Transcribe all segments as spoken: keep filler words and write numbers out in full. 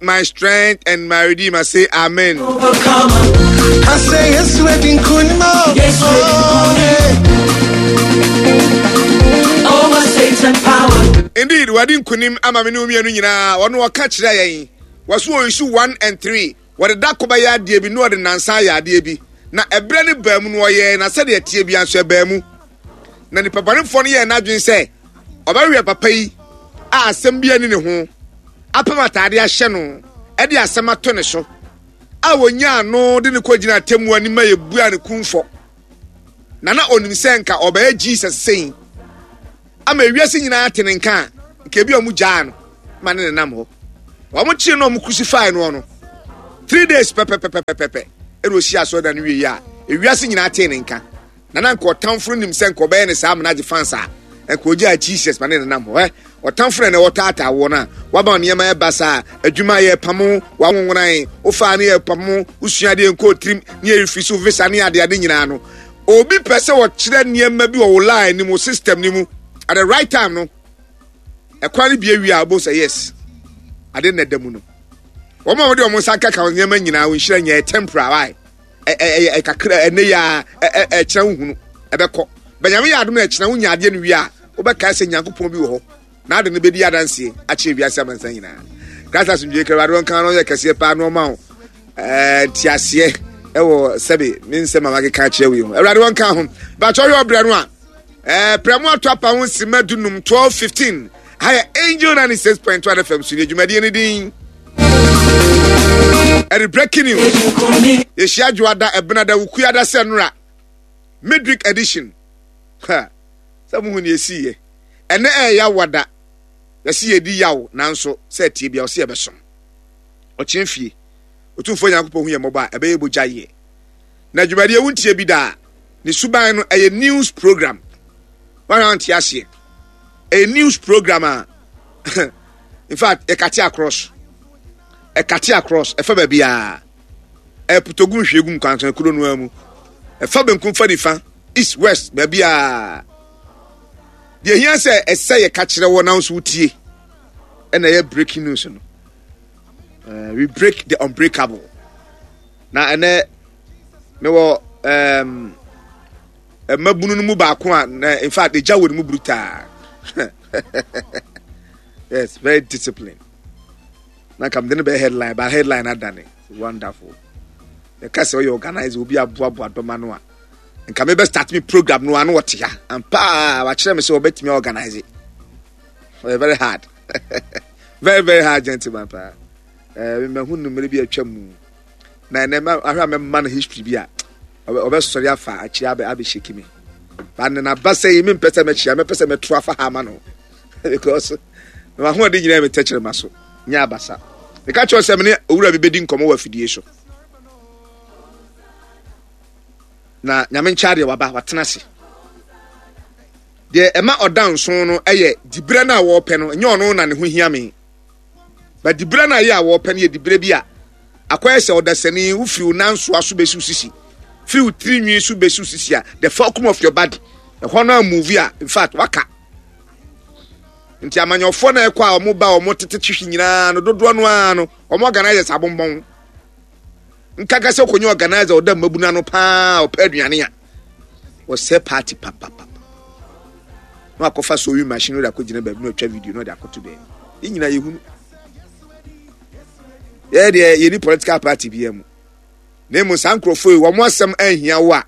My strength and my redeemer. Say amen. I say yes, wedding Yes, Over Satan power. Indeed, wadi nkunim ama me ne wo mmienu nyinaa. Ɔno ɔka kyerɛ yɛn. Wɔso wɔ issue one and three. Wɔde da ko bɛyɛ adeɛ bi na ɔde nansa ayɛ adeɛ bi. Na ɛberɛ no baa mu no ɔyɛɛ na sɛdeɛ ɛteɛ bi nso ɛbaa mu. Na nipa bɔnefoɔ no yɛɛ n'adwene sɛ ɔbɛwɛ papa yi a asɛm bi ani ne ho apam ataade ahyɛ no ɛde asɛm ato ne so a wɔnyaa no de ne kɔgyina atemmu anim a yɛbua ne kumfɔ na na onim sɛ nka ɔbɛyɛ Jesus sɛn ama ewiase nyinaa te ne nka a nka ebi a ɔmo gyaa no ma ne nenam hɔ. Wɔn kyerɛ no, ɔmo crucify no no three days pɛpɛpɛpɛpɛpɛ ɛna osi asɔredan no wie a ewiase nyinaa tee ne nka. Na na nka ɔtamfo no nim sɛ nka ɔbɛyɛ ne saa amena agye fans a nka ogyaa Jesus ma ne nenam hɔ. Ɛ ɔtamfo no na ɛwɔ taataa wɔ no a waba nneɛma ɛba saa, adwuma yɛ pamo, wawonwonan wofaa ne yɛ pamo, wosua adeɛ nkɔɔ tirim ne yɛ refi so visa ne adeade nyinaa no, obi pɛ sɛ wɔkyerɛ nneɛma bi wɔ wo line ne mu, system ne mu at the right time no, ɛkwan no bie wie a wobɛhu sɛ yes, ade na ɛda mu no. Wɔn a wɔde wɔn nsa kaka wɔn nneɛma nyinaa, wɔn nhyira nyɛ temporary, why ɛyɛ kakra ɛnɛ yɛ a ɛkyerɛ wo hunu ɛbɛkɔ bɛnyame yɛ adom na ɛkyerɛ wo nya adeɛ no wie a wobɛkae sɛ Nyankopɔn bi wɔ hɔ na ade no bɛdi adanseɛ akyerɛ wiase amansan nyinaa. Christ asomdwe kra Awurade wɔnka no yɛ kɛseɛ paa na ɔma wo nteaseɛ ɛwɔ sɛbe me nsɛm a makeka akyerɛ wo yi ho. Awurade wɔnka ho bakyɛ ɔyɛ ɔbrɛ no a ɛɛ prɛmo ato apa ho nsima dunum twelve fifteen. Ha yɛ Angel ninety-six point one F M so ne dwumadie no din ɛde Breaking News. Yɛhyia dwoada, ɛbenada, wukuada sɛ nora midweek edition ha sɛ muhu ne yɛsiiɛ. Ɛnɛ ɛyɛ wada yɛsi yɛdi yaw, nanso sɛ ɛtie bia ɔsi yɛbɛsom ɔkyerɛ fie. Otumfoɔ Nyankopɔn hu yɛ mmɔbɔ a ɛbɛyɛ bogya yɛ na dwumadie wontie bi daa ne suban no ɛyɛ news program. Wɔn a wɔnte aseɛ, ɛyɛ news program a in fact ɛcut across ɛcut across ɛfa baabi a ɛputogu nhwiegu nkwansan kuro no mu, ɛfa benkum fa nifa, east, west, baabi a deɛ ehia sɛ ɛsɛ yɛ ka kyerɛ wɔ na nso wotie ɛna ɛyɛ breaking news no. uh, we break the unbreakable. Na ɛnɛ mewɔ um, mmabunu no mu baako a na in fact egya wɔ ne mu brutal. Yes, very disciplined. Na nka mede no bɛyɛ headline, but headline adane. Wonderful. Yɛka sɛ ɔyɛ organizer, obi aboaboa dɔma no a nka mebɛ start me program no ano wɔte ha ampa a wakyerɛ me sɛ wɔbɛtumi organize. Ɔyɛ very hard, very very hard gentleman paa. Ɛɛ mahu no mmerɛ bi atwa mu na ɛnɛ ahwɛ a mɛma no history bi a ɔbɛsɔre afa akyire abɛ abɛhyɛki me ba ne naba sɛ yi mempɛ sɛ mɛkyia, mɛpɛ sɛ mɛto afa ha ama no because na mahoɔden nyinaa metɛkyerɛ ma so nyɛ abasa. Meka kyerɛ sɛ mene owura bi bɛdi nkɔmmɔ wɔ afidie so na Nyame nkyɛ adeɛ waba watena ase. Deɛ ɛma ɔda nson no yɛ diberɛ no a wɔrepɛ no, ɛnyɛ ɔno na ne ho hia me ba. Diberɛ no a yɛ a wɔrepɛ no yɛ diberɛ bi a akɔyɛ sɛ ɔdasani wofiri wo nansoa so bɛsi wo sisi, firi wo tiri nwi so bɛsi wo sisi a the fulcrum of your body ɛhɔ no a move a in fact waka. Nti amanyɔfoɔ no ɛkɔ a wɔn ba wɔn tete twihwi nyinaa no dodoɔ no ara no wɔn organizers abombɔn nkaka sɛ okɔnyɛ organizer ɔda mmabunu ano paa, ɔpɛ aduane a wɔsɛ party papapapa na wakɔfa sewing machine no de akɔgyina baabi na ɔtwa video na ɔde akɔto baabi. Yɛn nyinaa yɛhunu yɛyɛ deɛ yɛni political party biara mu, na emu saa nkurɔfoɔ yi wɔn asɛm anhia wo a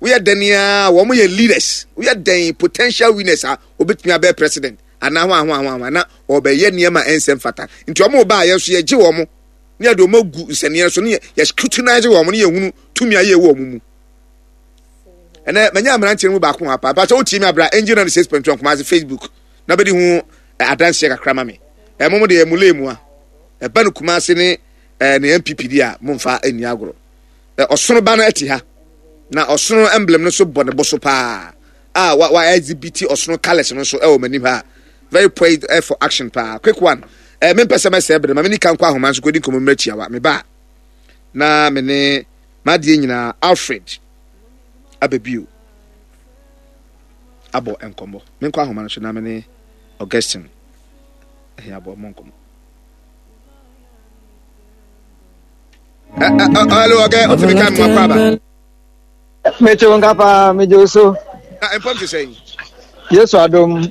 woyɛ dɛn a wɔn yɛ leaders, woyɛ dɛn potential winners a obetumi abɛyɛ president anaa ho aho aho aho na ɔbɛyɛ nneɛma a ɛnsɛm fata. Nti wɔn ba a yɛn nso yɛgye wɔn ne yɛde wɔn agu nsɛnniɛ so ne yɛ scrutinize wɔn ne yɛhunu tumi a yɛwɔ wɔn mu. Ɛnɛ manya mmeranteɛ no mu baako ha paa. Pàtó wotie mi abira Angel ninety six point one Kumasi Facebook na bɛdi ho adanseɛ kakra ma me. Ɛmo mo deɛ mo lee mu a ɛba no Kumasi ne ɛɛ ne N P P di a momfa nni agorɔ. Ɔsono ba no ɛte ha na ɔsono emblem no so bɔ ne bo so paa a wa wa exhibit ɔsono colours no nso ɛwɔ m'anim ha, very poised for action paa. Quick one, ɛɛ mempɛ sɛ mɛsɛ bere ma me nika nkɔ ahoma nso kɔdi nkɔmɔ mmerɛ tiawa. Me ba na me ne m'adeɛ nyinaa Alfred abɛbio abɔ nkɔmmɔ. Menkɔ ahoma no so na me ne Augustine ɛhɛn abɔ mmɔ nkɔmmɔ. Hello, okay, otumi ka mu akɔ aba. Mete wo nka paa, megye wo so. Na mpɔm te sɛn? Yesu adom,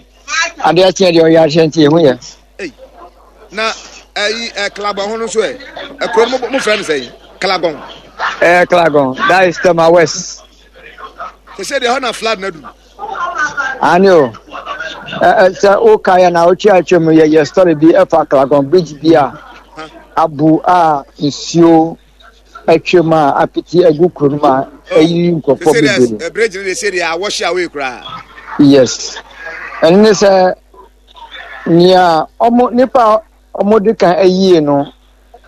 adeɛ akyeɛ deɛ ɔyɛ ahyɛ nti ɛho yɛ. Na ɛyi ɛ Klagon ho no nso ɛ, ɛkuro no mo frɛ no sɛn? Klagon. Ɛɛ Klagon, that is Tema West. Sɛ sɛ deɛ hɔ na flood na duru. Ani o, ɛ sɛ woka yɛ na wotwe atwa mu yɛ yɛ story bi ɛfa Klagon bridge bi a abu a nsuo atwam a apete agu kuro no mu a ɛyi nkurɔfoɔ bebree. Bridge no de sɛ deɛ awɔhye away koraa. Yes, ɛno ne sɛ nea ɔmo nipa a ɔmo de kan ayie no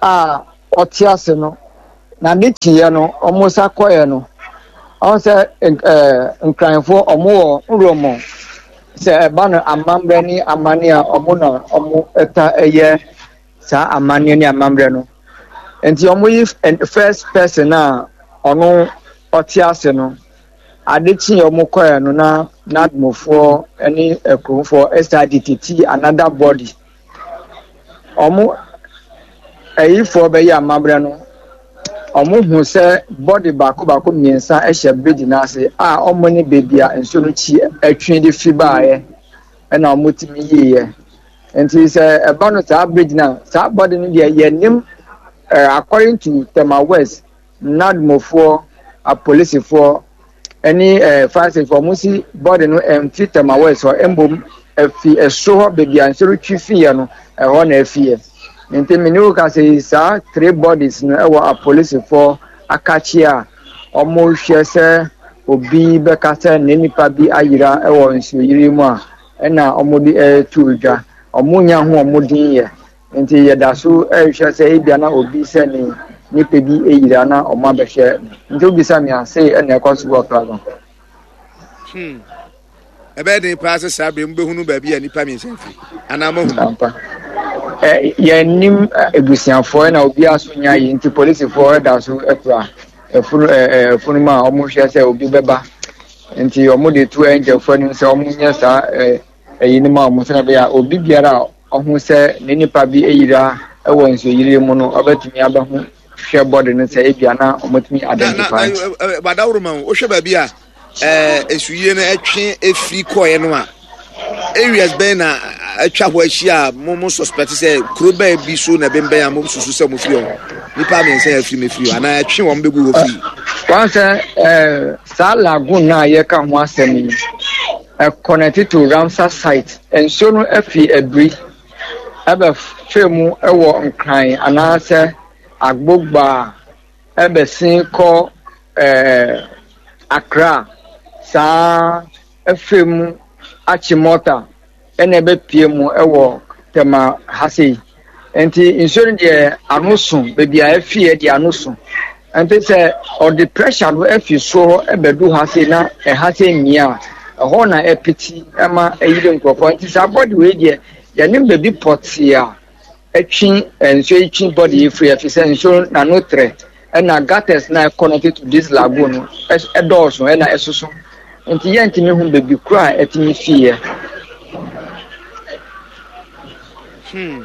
a ɔte ase no na ne kyeɛ no ɔmo sa kɔɛ no ɔmo sɛ ɛɛ nkranfoɔ ɔmo wɔ nrɔmɔ sɛ ɛba no amammerɛ ne amanneɛ a ɔmo na ɔmo ɛta ɛyɛ saa amanneɛ ne amammerɛ no. Nti ɔmo yi first person a ɔno ɔte ase no, ade kye ɔmo kɔɛ no na n'adomofoɔ ne akuromfoɔ ɛsa de titi another body. Ɔmo ɛyifoɔ bɛyɛ amammerɛ no, ɔmo hu sɛ body baako baako mmiɛnsa ɛhyɛ bridge n'ase a ɔmo ne beebi a nsuo no kyi ɛtwe de fi baeɛ ɛna ɔmo tumi yiiɛ. Nti sɛ ɛba no saa bridge na saa body no deɛ yɛnim. Uh, according to Tema West, NADMOfoɔ, apolisifoɔ, ɛne uh, fire service, wɔn si body no ɛmfi Tema West hɔ, mbom ɛfi ɛsoro hɔ beebi a nsuo twi fiiɛ no, ɛhɔ na ɛfiiɛ. Nti mene wo ka sɛ saa three bodies no ɛwɔ apolisifoɔ akakye a wɔn hwɛ sɛ obi bɛka sɛ ne nipa bi ayera ɛwɔ nsuoyiri mu a ɛna wɔn de ɛreto dwa. Wɔn nya ho wɔn din yɛ. Nti yɛda so ɛrehwɛ sɛ ebia na obi sɛ ne nipa bi eyira na ɔmo abɛhwɛ. Nti obisa mi ase ɛna ɛkɔ so wɔ Klagon. Hmm. Ɛbɛyɛ den paa sɛ saa bere mu bɛhunu baabi a nipa mmiɛnsa firi anaa moahunu? Ampa. Ɛ yɛnim ebusuafoɔ na obiara so nya yi nti polisifoɔ ɛda so ɛkura ɛfunu ɛ ɛfunu mu a ɔmo hwɛ sɛ obi bɛba. Nti ɔmo de to ɛngyɛfoɔ anim sɛ ɔmo nyɛ saa ɛ ɛyi no ma ɔmo sɛ ɛbɛyɛ a obi biara a ɔho sɛ ne nipa bi eyira ɛwɔ nsuoyiri mu no ɔbɛtumi abɛho hwɛ bɔde no sɛ ebia na ɔmotumi identify. Na na badaworo ma wo wohwɛ baabi a ɛɛ esuyie no ɛtwe efiri kɔɛ no a areas bɛn na atwa hɔ ahyia a mo mo suspect sɛ kuro bɛn bi so na ɛbɛnbɛn a mo susu sɛ mo firi hɔ nipa mmiɛnsa yɛ afiri mu efiri hɔ anaa ɛtwe wɔn bɛgu hɔ firi. Wɔn sɛ ɛɛ saa lagoon na yɛka ho asɛm yi ɛconnect to Ramsar site. Nsuo no afi abiri ɛbɛfɛ mu ɛwɔ Nkran anaasɛ Agbogba ɛbɛsen kɔ ɛɛ Accra saa ɛfɛ mu Achimota ɛna ɛbɛpie mu ɛwɔ Tema ha sei. Nti nsuo no deɛ ano so beebi a ɛfi deɛ ano so. Nti sɛ ɔde pressure no afi soro hɔ ɛbɛdu ha sei na ɛha sei mmea a ɛhɔ na ɛpiti ɛma ɛyiri nkurɔfoɔ. Nti saa body wei deɛ yɛne baabi pɔtee a ɛtwe nsuo yi twe body yi firi ɛfi sɛ nsuo n'ano trɛ ɛna gutters na ɛconnect to this lagoon no ɛdɔɔso ɛna ɛsoso. Nti yɛntumi hu baabi koro a ɛtumi fiiɛ. Hmm.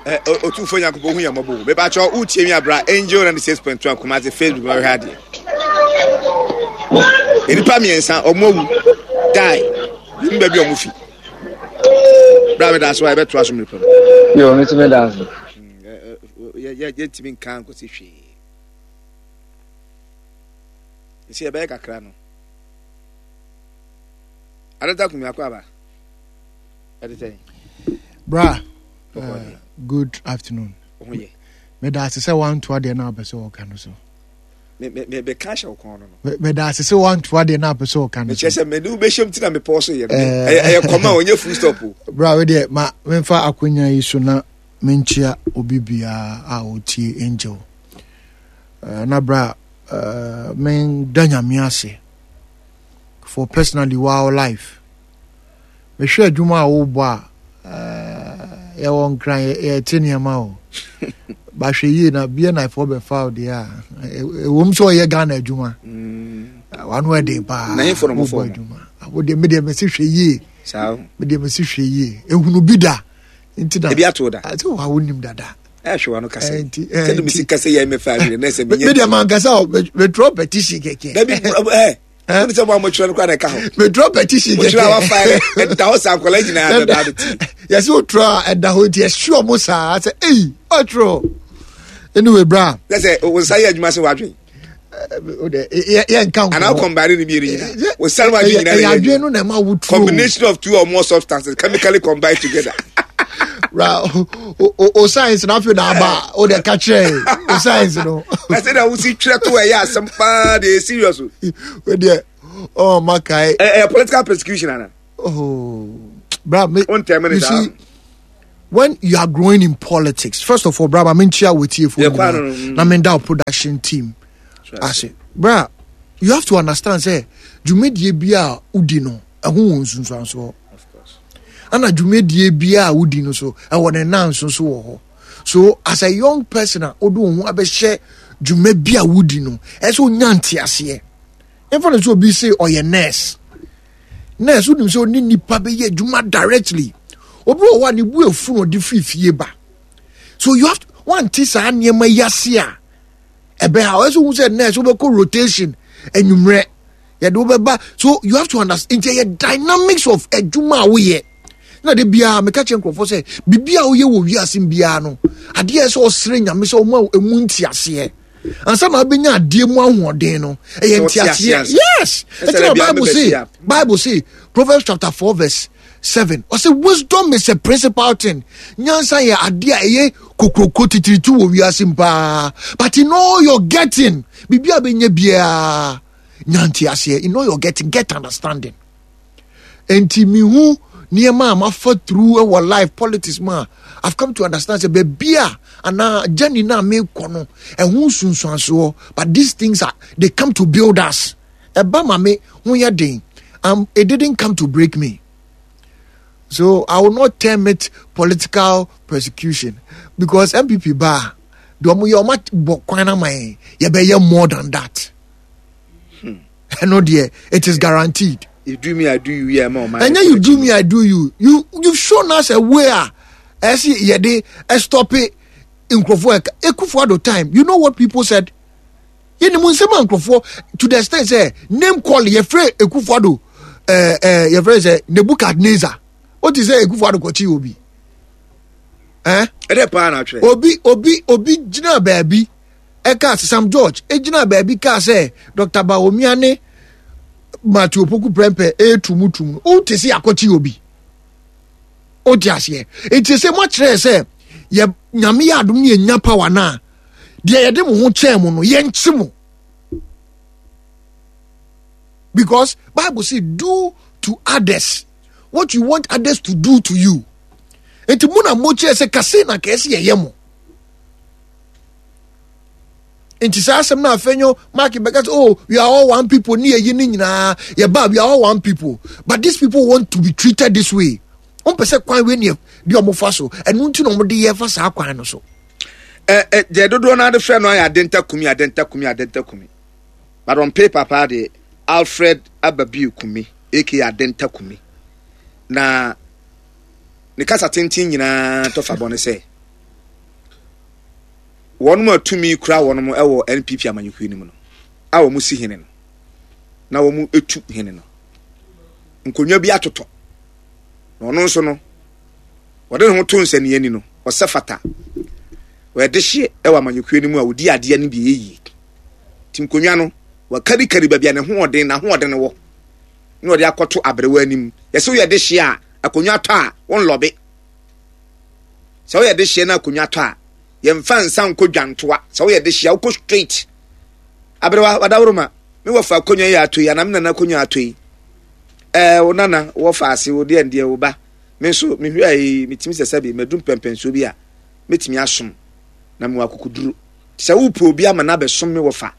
Otumfoɔ Nyankopɔn hu yɛn mmɔbɔ. Mepakyɛ wotie mi abra Angel ninety-six point one Kumasi Facebook na ɔhwɛ adeɛ. Nnipa mmiɛnsa ɔmo awu die yɛn baabi a ɔmo fi. Bra meda so a yɛbɛtoa so mmerɛ pam. Yo, me nso meda ase. Yɛntumi nka nkɔsi hwee. Nsi yɛbɛyɛ kakra no. Adata kumi akɔ aba. Bra, uh, good afternoon. Meda ase sɛ wanto adeɛ no apɛ sɛ ɔka no so. Mebɛka hyɛ wo kɔn no no. Meda ase sɛ wanto adeɛ no apɛ sɛ ɔka no so. Mekyerɛ sɛ mede wobɛhyɛm ti na mepɔ so yɛ. Ɛyɛ kɔma a ɔnyɛ full stop o. Bra, wo deɛ ma memfa akonya yi so na menkyia obi biara a ɔtie Angel. Uh, na bra, uh, menda Nyame ase for personally wow life. Mehwɛ adwuma a wobɔ a yɛwɔ nkran yɛte nneɛma o bahwɛ yie na B N I foɔ bɛfa wo deɛ a ɛwom sɛ ɔyɛ Ghana adwuma wano ɛden paa wobɔ adwuma wodeɛ medeɛ mese hwɛ yie medeɛ mese hwɛ yie ehunu bi da nti na ebi ato da sɛ wa wonim dada Ɛhwɛ wa no kasa. Ɛnti- Sɛ de ɛnti- mesi kasa yɛ mɛfa awie na sɛ me menyɛ. me deɛ mankasa o metwerɛ petition kɛkɛ. Dabi ɛ wọ́n sɛ mo a mo twerɛ no kora na ɛka ho. Metwerɛ petition Mo twerɛ a wafa kɛkɛ. yɛ ɛda hɔ sa nkɔla nyinaa bɛba abɛti. Yɛsɛ wotwerɛ a ɛda hɔ nti ɛhye ɔmo saa sɛ ei ɔtwerɛ. Anyway, bra. Sɛ sɛ wo nsa yɛ adwuma sɛ wadwen. O de yɛ yɛnka nkɔmmɔ. Anaa kɔmbane ne mmienu nyinaa. Wo nsa no wadwen nyinaa na ɛyɛ ɛyɛ adwene adwuma. no na ɛma wotwerɛ o. Combination of two or more substances chemically combined together. Ra o o o science na afei na aba o de ka kyerɛ o science no. Na sɛ na wosi twerɛ to ɛyɛ asɛm paa de ɛyɛ serious o. O deɛ ɔ ma kae. Ɛ ɛyɛ political persecution ana. Oh, bra me. O ntɛm ne You saa. see, when you are growing in politics, first of all, bra ma menkyia wɔ tiefo Yeah, kwa no, no, mm. na menda wo production team ase. Bra, you have to understand sɛ dwumadie bi a wodi no ɛho wɔ nsunsuansoɔ, ana dwumadie bi a wodi no so ɛwɔ ne nan nso so wɔ hɔ. So as a young person a wode wo ho abɛhyɛ dwuma bi a wodi no, ɛsɛ wonya nteaseɛ. Ɛmfa no sɛ obi se ɔyɛ nurse nurse wonim sɛ ɔne nipa bɛyɛ adwuma directly. Obi wɔ hɔ a ne bu efu na ɔde firi fie ba, so you have to wante saa nneɛma yi ase a ɛbɛ ha. Ɔyɛ sɛ ohun sɛ nurse wobɛkɔ rotation anwummerɛ yɛde wobɛba, so you have to understand. Nti ɛyɛ dynamics of adwuma a woyɛ. Na de biara meka kyerɛ nkurɔfoɔ sɛ biribi a woyɛ wɔ wiase biara no, adeɛ a ɛsɛ sɛ ɔsrɛ Nyame sɛ ɔma emu nteaseɛ ansa na wobɛnya adeɛ mu ahoɔden no, ɛyɛ Sɛ ɔte nteaseɛ. aseɛ ansa. Yes. Ɛsɛ Ɛnti dɛ na bia Bible say mebɛhyia. Bible say, Proverbs chapter four verse seven, ɔsɛ wisdom is a principal thing. Nyansa yɛ adeɛ a ɛyɛ kokroko titiritu wɔ wiase mu paa, but in all your getting, biribi a bɛnya biara, nya nteaseɛ. In all your getting, get understanding. Nti mihu nneɛma a mafa through ɛwɔ life politics mu a, I've come to understand sɛ baabi a anaa journey na mekɔ no, ɛho nsunsuansoɔ. But these things are, they come to build us. Ɛba ma me ho yɛ den. um, it didn't come to break me, so I will not term it political persecution, because N P P ba deɛ, ɔmo yɛ ɔmo bɔ kwan ama yɛn, yɛbɛyɛ more than that. Ɛno deɛ, it is guaranteed. You do me, I do you. Yeah, ma ɔman. Ɛnyɛ you do me, I do you. You you've shown us a way a ɛsi yɛde ɛstop nkurɔfoɔ ɛka Akufo Addo time. You know what people said? Yɛnim nsɛm a nkurɔfoɔ, to the extent sɛ name call, yɛfrɛ Akufo Addo ɛɛ ɛɛ yɛfrɛ sɛ Nebuchadnezzar. O ti sɛ Akufo Addo kɔkye obi ɛɛ. Ɛdɛ paa na atwerɛ. obi obi obi gyina baabi ɛka Sam George egyina baabi kaa sɛ Doctor Bawumia ne Matthew Opoku Prempeh etum no, o te sɛ akɔkye obi. O te aseɛ? Eti sɛ mo akyerɛ sɛ yɛ Nyame yɛ adom ne yɛnya power na deɛ yɛde mo ho kyɛn mo no, yɛnkye mo, because Bible say do to others what you want others to do to you. Nti mo na mo kyerɛ sɛ kase na kɛse yɛyɛ mo. Nti saa asɛm no Afenyo Markin bɛka sɛ, "Oh, we are all one people" ne yɛyi ne nyinaa yɛba, we are all one people, but these people want to be treated this way. Wɔn pɛ sɛ kwan wei ne deɛ ɔmo fa so, ɛno nti na ɔmo de yɛ fa saa kwan no so. Ɛ ɛ deɛ dodoɔ no ade frɛ no ayɛ Adenta Kumi, Adenta Kumi, Adenta Kumi, but on paper paa deɛ, Alfred Ababiu Kumi aka Adenta Kumi. Na ne kasa tenten nyinaa tɔfa bɔ ne sɛ wɔn a tumi kura wɔn wɔ N P P amanyɔkuo no mu no a wɔn si hene no na wɔn etu hene no, nkonnwa bi atotɔ na ɔno nso no wɔde ne ho to nsania ni no, ɔsɛ fata wɔyɛde hyeɛ wɔ amanyɔkuo no mu a wɔdi adeɛ no bi yɛ yie. Nti nkonnwa no wɔkarikari baabi a ne hoɔden n'ahoɔden wɔ na wɔde akɔto aberewa anim. Yɛsɛ woyɛ de hyeɛ a akonnwa tɔ a wɔnlɔbe sɛ woyɛ de hyeɛ na akonnwa tɔ a, yɛmfa nsa nkɔ dwantoa. Sɛ woyɛ de hyeɛ a, wokɔ straight aberewa wadaworo ma me wɔfa akonnwa yi ato yi anaa me nana akonnwa ato yi. Ɛɛ wo nana wɔfa ase wo deɛ deɛ wo ba me nso mehwɛ yi, metumi sɛ sɛbi madu mpɛmpɛnsuo bi a mɛtumi asom na mewɔ akokoduro sɛ wopɛ obi ama no abɛsom me wɔfa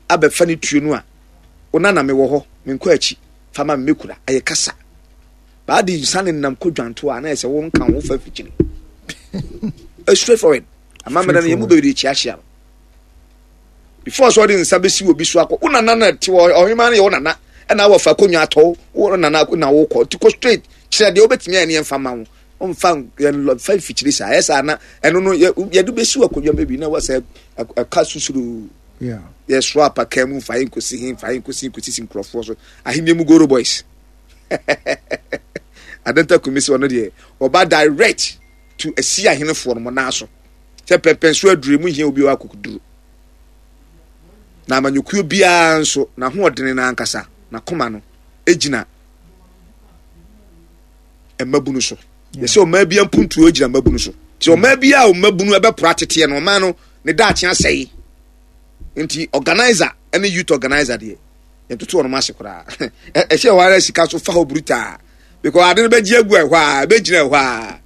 abɛfa ne tuo no a, wo nana mewɔ hɔ, menkɔ akyi fa ma me mɛkura. Ɛyɛ kasa baade nsa ne nam kɔ dwanto a na yɛ sɛ wonka wo fa fikyiri. Straight forward amammerɛ no yɛ mu bebree kyiakyia no before sɛ ɔde nsa bɛsi obi so akɔ wo nana na te hɔ. Ɔhema no yɛ wo nana ɛna wɔfa akonnwa atɔ wo nana na wokɔ nti kɔ straight kyerɛ deɛ wobɛtumi ayɛ ne yɛmfa ma wo. Ɔmfa yɛmfa mfikyiri saa. Ɛyɛ saa na ɛno no yɛde bɛsi wɔ akonnwa baabi na wɔsɛ ɛka susuru. Yɛsoa apaka mu mfa yɛ nkosi he mfa yɛ nkosi nkosi si nkurɔfoɔ so. Ahenni mu Goro Boys. Adenta Kumi sɛ ɔno deɛ ɔba direct to asi ahenefoɔ no mo nan so. Sɛ pɛmpɛn so aduru mu hia obi wɔ akokoduru. Na amanyɔkuo biara nso n'ahoɔdene no ankasa n'akoma no gyina mmabunu so. Yɛsɛ ɔmaa bi mpuntuo gyina mmabunu so. Nti ɔmaa bi a mmabunu ɛbɛpora teteɛ no ɔmaa no ne daakye asɛe. Nti organizer ne youth organizer deɛ yɛntoto wɔn ase koraa. Ɛhyɛ hɔ ara sika so fa hɔ brutaa because ade no bɛgye agu ɛhɔ a ɛbɛgyina ɛhɔ a.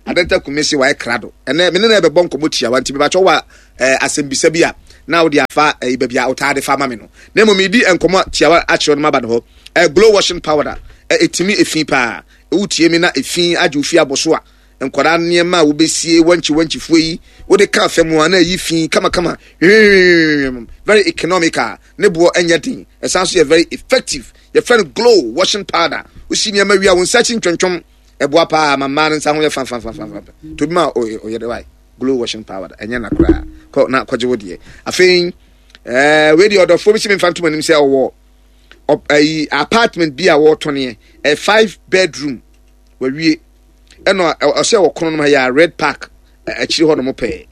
Adenta Kumi se wayɛ krado. Ɛnɛ me ne no ɛbɛbɔ nkɔmmɔ tiawa nti mebakyɛ wɔ eh, asɛmbisa bi a na wode afa eh, baabi a wotaa de fa ma me no. Na mmom medi nkɔmmɔ tiawa akyerɛ no maba no hɔ. Eh, glow washing powder eh, ɛtumi efi paa. Wotie me na efi agye wo fi abɔ so a nkwadaa nneɛma a wobɛsie wankyi wankyifoɔ yi wode ka fam a na ɛyi fi kamakama hwehwehwehwehwem. Very economical, ne boɔ ɛnyɛ den, ɛsan so yɛ very effective. Yɛfrɛ no glow washing powder. Wosi nneɛma wie a wo nsa akyi ntwontwom ɛboa paa ma mmaa no nsa ho yɛ fanfanfanfanfan. Tobi ma ɔyɛ de wae glow washing powder ɛnyɛ na koraa kɔ na kɔgye wo deɛ. Afei ɛɛ wei deɛ ɔdɔfoɔ bi si mi nfa ntom anim sɛ ɔwɔ ɛyi apartment bi a wɔretɔneɛ ɛ five bedroom wawie ɛna ɔsɛ wɔ kono no yɛ red park akyiri hɔ nom pɛɛ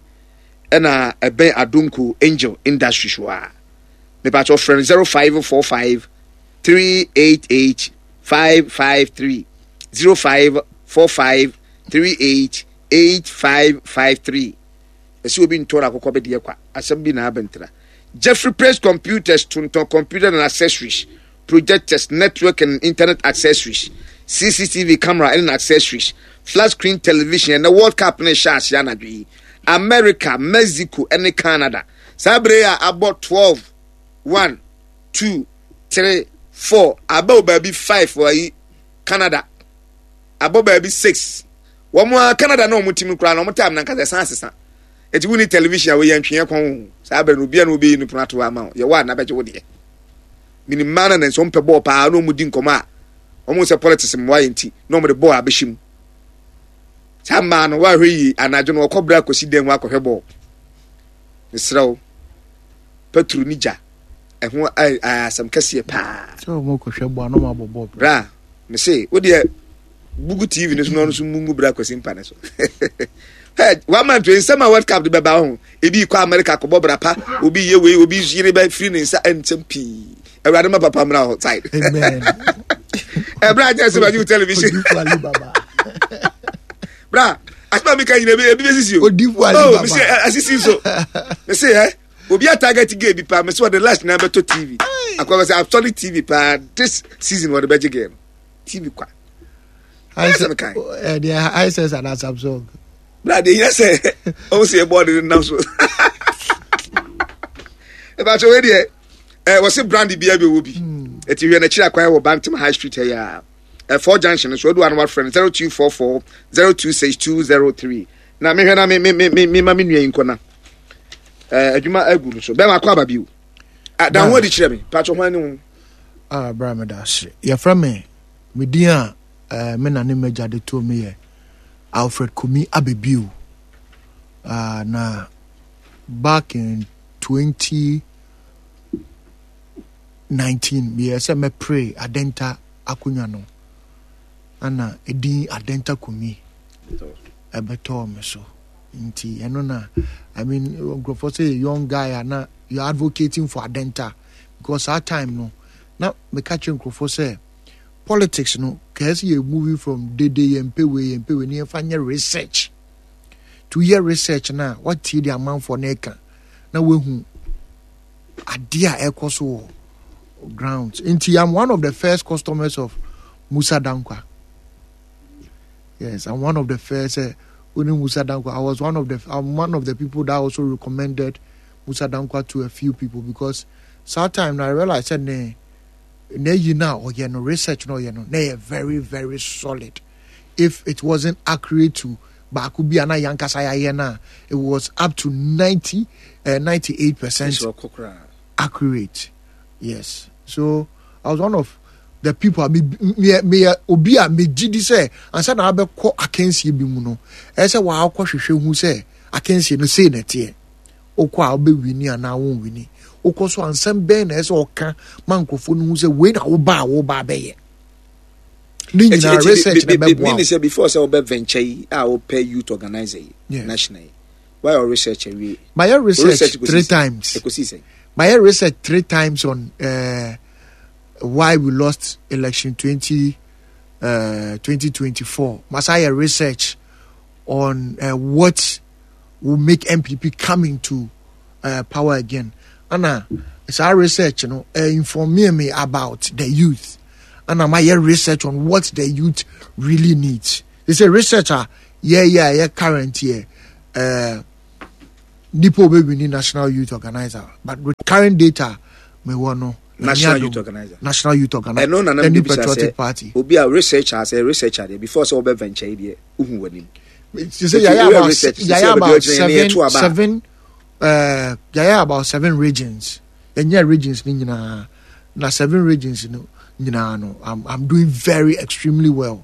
ɛna ɛbɛn Adonko Angel Industries hɔ a mepatɛ ɔfrɛ no zero five four five three eight eight five five three zero five four five three eight eight five five three. Ɛsɛ obi ntɔre akokɔ bɛdeɛ kwa asɛm bi na abɛntra. Jeffrey Praise Computers tontɔn computer and accessories, projectors, network and internet accessories, C C T V camera and accessories, flat screen television, and the World Cup ne hyɛ ase anadwo yi. America, Mexico, and Canada. Saa bere a abɔ twelve, one, two, three, four, abɔ baabi five wɔ yi Canada. Abɔ baabi six. Wɔn a Canada na wɔn tim koraa na wɔn time na nkasa ɛsan asesa. Eti wuni television a wɔyɛ ntweɛ kɔn ho. Saa bere no obiara na obeyi no pono ato ama wo. Yɛwɔ a na bɛgye wo deɛ. Minim mmaa na nso mpɛ bɔɔl paa na wɔn di nkɔmɔ a wɔn sɛ politics mmoa yɛn ti na wɔn de bɔɔl abɛhyɛ mu. Saa mmaa no wɔahwɛ yie anadwo no wɔkɔ bere akɔsi dan mu akɔhwɛ bɔɔl. Mesrɛ wo, petro ne gya ɛho asɛm kɛseɛ paa. Sɛ wɔn kɔhwɛ bɔɔl na wɔn abɔ bɔɔl. Bra, mese wo deɛ bugu T V no so na ɔno nso mungu bra kwasi mpa ne so. Hey, one man to nsɛm a World Cup de bɛba ho. Ebi kɔ America kɔbɔ bra pa, obi yɛ wei, obi yere bɛ firi ne nsa nsɛm pii. Awurade ma papa mmra hɔ side. Amen. Ɛbra kyɛ sɛ bɛgye television. Bra, asɛm a meka nyina ebi ebi bɛsisi o. Odifu Ali Baba. Oh, mese asisi so. Mese eh obi a target gay bi pa, mese wɔde last na bɛtɔ T V. Akɔ bɛ sɛ asɔre T V pa this season wɔde bɛgye gay no. T V kwa. Ɛdeɛ Hisense and Samsung. Bra deɛ yɛ sɛ ɔmo sɛ yɛ bɔɔde no nam so. Ɛbɛtɔ wei deɛ ɛ wɔsi brand bi abɛ wɔ bi. Eti hwɛ n'akyiri akwan wɔ Bantam High Street ɛyɛ a. Ɛ four junction so odu ano wafrɛ no zero two four four zero two six two zero three. Na mehwɛ na me me me me me ma me nua yi nkɔ na. Ɛ adwuma agu no so. Bɛma akɔ aba bio. Dan ho adi kyerɛ me. Patro ho ani ho. Ah bra me da ase. Yɛfrɛ me me din a eh, me na ne m'agya de too me yɛ Alfred Kumi Abebio. Ah, na back in twenty nineteen meyɛ sɛ mɛpere Adenta akonnwa no ana edin Adenta Kumi ɛbɛtɔɔ me so. Nti ɛno na I mean nkurɔfoɔ sɛ young guy a na you are advocating for Adenta because that time no na meka kyerɛ nkurɔfoɔ sɛ politics no kɛse yɛ moving from dede yɛn pɛ wei yɛn pɛ wei ne yɛmfa nyɛ research. To yɛ research na watie de amanfoɔ na ɛka na wahu adeɛ a ɛkɔ so wɔ grounds. Nti I'm one of the first customers of Musa Dankwa. Yes, I'm one of the first. Uh, Uni Musa Dankwa. I was one of the. I'm one of the people that also recommended Musa Dankwa to a few people because that time I realized that ne ne you now or you no research no you no ne very very solid. If it wasn't accurate to baako bi ana yankasa ya ye na it was up to ninety, uh, ninety-eight percent accurate. Yes, so I was one of The people a me me meyɛ obi a megye di sɛ ansa na abɛkɔ akansie bi mu no, ɛyɛ sɛ wakɔ hwehwɛ hu sɛ akansie no sei na ɛteɛ. Wokɔ a wobɛwini anaa wonwini. Wokɔ so a nsɛm bɛn na ɛsɛ sɛ ɔka ma nkurɔfoɔ no hu sɛ wei na woba a woba abɛyɛ. Ne nyinaa research na ɛbɛboa wo. Sɛ before sɛ wobɛ venture yi a wopɛ youth organizer yi, national yi, wayɛ research awie? Mayɛ research three times. Ɛkɔsi sɛn? Mayɛ research three times on uh, why we lost election twenty uh, twenty twenty-four. Masa yɛ research on uh, what will make N P P come into uh, power again. Ana saa research no uh, inform me about the youth. Ana mayɛ research on what the youth really needs. They say research a yeah yeah yeah current year uh, nipa obɛwini national youth organizer, but with current data me wɔ no, National youth organizer. National youth organizer. Ɛno na the New Patriotic Party. Obi a researcher sɛ researcher deɛ, before sɛ wɔbɛ venture yi deɛ, wohu w'anim. Sɛ yɛayɛ about yɛayɛ about seven seven uh, yɛayɛ about seven regions. Yɛnyɛ regions ni nyinaa na seven regions no nyinaa no, I'm, I'm doing very extremely well,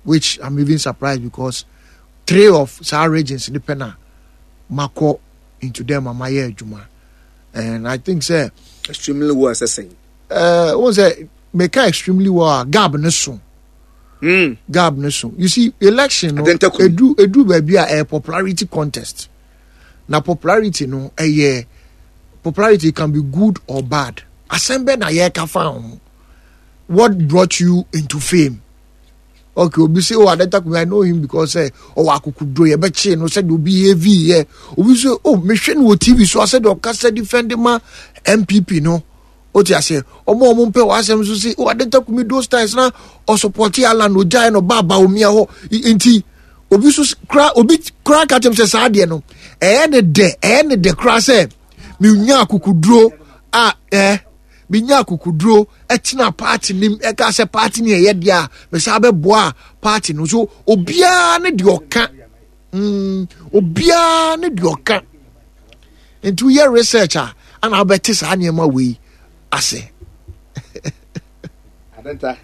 which I'm even surprised because three of saa regions ni pɛ na makɔ into them a mayɛ adwuma, and I think sɛ Extremely well sɛ sɛn? uh, wɔn sɛ meka extremely well a, gap ne so. Mm. Gap ne so. You see, election no, Adenta kumi. edu edu baabi a ɛyɛ popularity contest, na popularity no, ɛyɛ popularity can be good or bad. Asɛm bɛ na yɛreka fa ho? What brought you into fame? Okay, obi say, "Oh, Adenta Kumi, I know him because ɛ ɔwɔ akokoduro, yɛbɛkye no sɛdeɛ obi heavy yɛ." Obi say, "Oh, mehwɛ no wɔ T V so asɛdeɛ ɔkasa defend ma N P P no." O ti ase, ɔmo a ɔmo mpɛ wɔ asɛm so say, "Oh, Adenta Kumi, those times na ɔsupport Alan, ogyae no ba Bawumia hɔ." I- nti obi so kura, obi kura ka kyerɛ m sɛ saa adeɛ no ɛyɛ ne dɛ, ɛyɛ ne dɛ kura sɛ menya akokoduro a ɛɛ menya akokoduro ɛtena party nim, ɛka sɛ party ni ɛyɛ deɛ a mesa bɛboa party no so. Obiara ne deɛ ɔka mm, obiara ne deɛ ɔka. Nti woyɛ research a, ana wobɛte saa nneɛma wei ase. Adenta.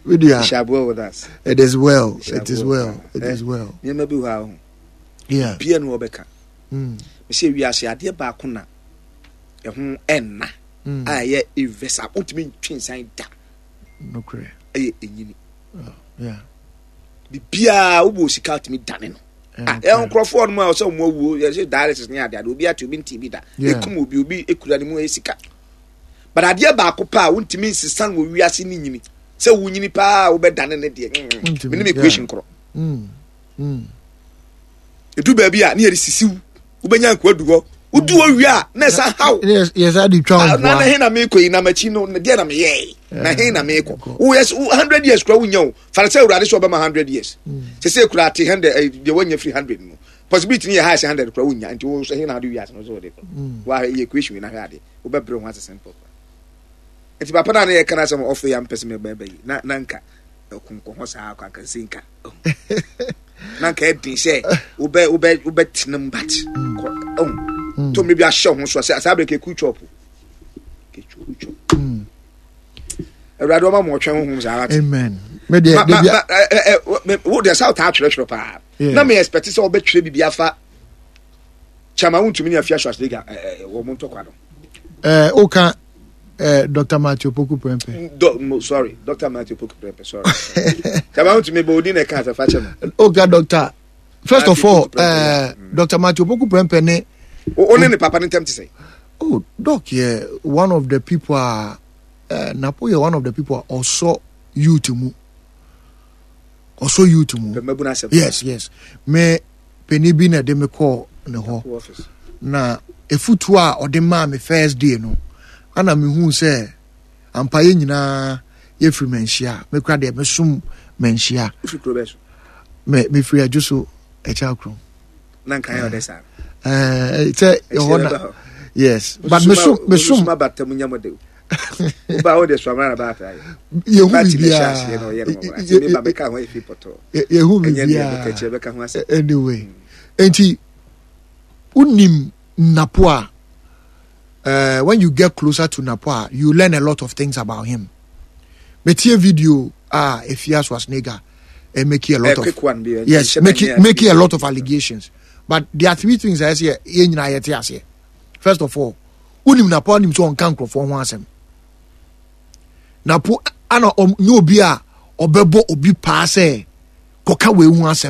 Media. It shall be well with us. It is well. Shall It is be well. It is well. Nneɛma bi wɔ ha ho. Yeah. Bia no wɔbɛka. Mm. Mesɛ wiase adeɛ baako na ɛho ɛnna Mm. a ɛyɛ irreversible, wontumi ntwe nsan da. Nokorɛ. Ɛyɛ ɛnyini. Yeah. Biribiaa wobɔ sika wotumi dane no. Ah, Yeah, ɛyɛ nkurɔfoɔ no mu a ɔsɛ ɔmo awuo, yɛsɛ dialysis ne adeade, obi ate, obi nte bi da. Yeah. Ɛkum obi, obi ekura ne mu ɛyɛ sika, but adeɛ baako pa a wontumi nsesa no wɔ wiase ne nyini sɛ wonyini paa wobɛdane ne deɛ mm, Wontumi, menim equation yeah. korɔ. Mm. Mm. Ɛdu baabi a ne yɛde sisiw, wobɛnya nkoa du hɔ, wodu hɔ wie a na ɛsa haw. Yes, yes, I did try. Ah, na na he na meekɔ yi, na makyi no deɛ na meyɛe, na he na meekɔ? Woyɛ hundred years kora wonya o, fane sɛ Awurade sɛ ɔbɛma hundred years sɛ sɛ kura ate hundred, eh, deɛ woanya firi hundred no, possibility no yɛ high sɛ hundred kora wonya. Nti wo nso he na wode wiase no sɛ wode kɔ? Woahwɛ yɛ equation wei na hwɛ ade, wobɛbrɛ ho ase simple. Nti papa no a ne yɛka no asɛm ɔfɛ yɛ ampɛ sɛ mɛbɛba yi na na nka ɛkonkɔ hɔ saa kɔ anka sɛ nka na nka ɛden sɛ wobɛ wobɛ wobɛtena mu, but kɔ ɔhu to mmere bi ahyɛ wo ho so a sɛ saa berɛ kɛku chop kɛku chop. Awurade ɔma ma ɔtwɛn honhom saa wate. Amen. Me deɛ, Ma- ma- de ma- ɛ- ɛ- ɛ, me- wo deɛ sɛ wotaa twerɛtwerɛ paa Yeah. na me expect sɛ wobɛtwerɛ biribi afa Chairman Wontumi ne Afia Schwarzenegger wɔ mo ntɔkwa no. Eh, oka eh, Doctor Matthew Poku Prempeh. Do, mo, sorry, Doctor Matthew Poku Prempeh, sorry. Chairman Wontumi bɛ odi na ɛka asɛ fa kyɛ no. Oka Doctor. First of Matthew all, Poku Prempeh. eh, Doctor Matthew Poku Prempeh ne wo wo ne ne papa ne ntam te sɛ? Oh, Doc, yeah, one of the people a uh, Napo yɛ one of the people a ɔsɔ youth mu. Ɔsɔ youth mu. Pɛ mabu no asɛm. Yes, yes. Me panin bi na ɛde me kɔɔ ne hɔ. Office. Na efutuo a ɔde maa me first day no, ana mehu sɛ ampa yɛ nyinaa yɛfiri Manhyia. Mekura deɛ mesom Manhyia. Wofiri kuro bɛɛ so? Me mefiri Adwo so ɛkyɛ kurom. Na nka yɛ ɔdɛ saa. Ɛɛ sɛ ɛhɔ na Ɛkyerɛ bɛ hɔ. Yes, but mesom mesom Suma bata mu nyam de woba wo de suamra na baata yɛ. Yehu Party na ɛhyɛ aseɛ na ɔyɛ no biribiara. wɔwɔ ati me ba bɛka ho efi pɔtɔ. Yehu ɛnyɛ deɛ bɛka kyerɛ biribiara. Bɛka ho asɛm. Anyway, nti wonim Napo a, uh, when you get closer to Napo a, you learn a lot of things about him. Metie video a Efia Schwarzenegger eh, making a lot A of quick one, bi, yes, nhyɛ making da nyɛ making a lot of allegations. But there are three things I say yɛn nyinaa yɛte aseɛ. First of all, wonim Napo, wonim sɛ ɔnka nkurɔfoɔ ho asɛm. Napo ana ɔm- nyɛ obi a ɔbɛbɔ obi paa sɛ kɔka wei ho asɛm.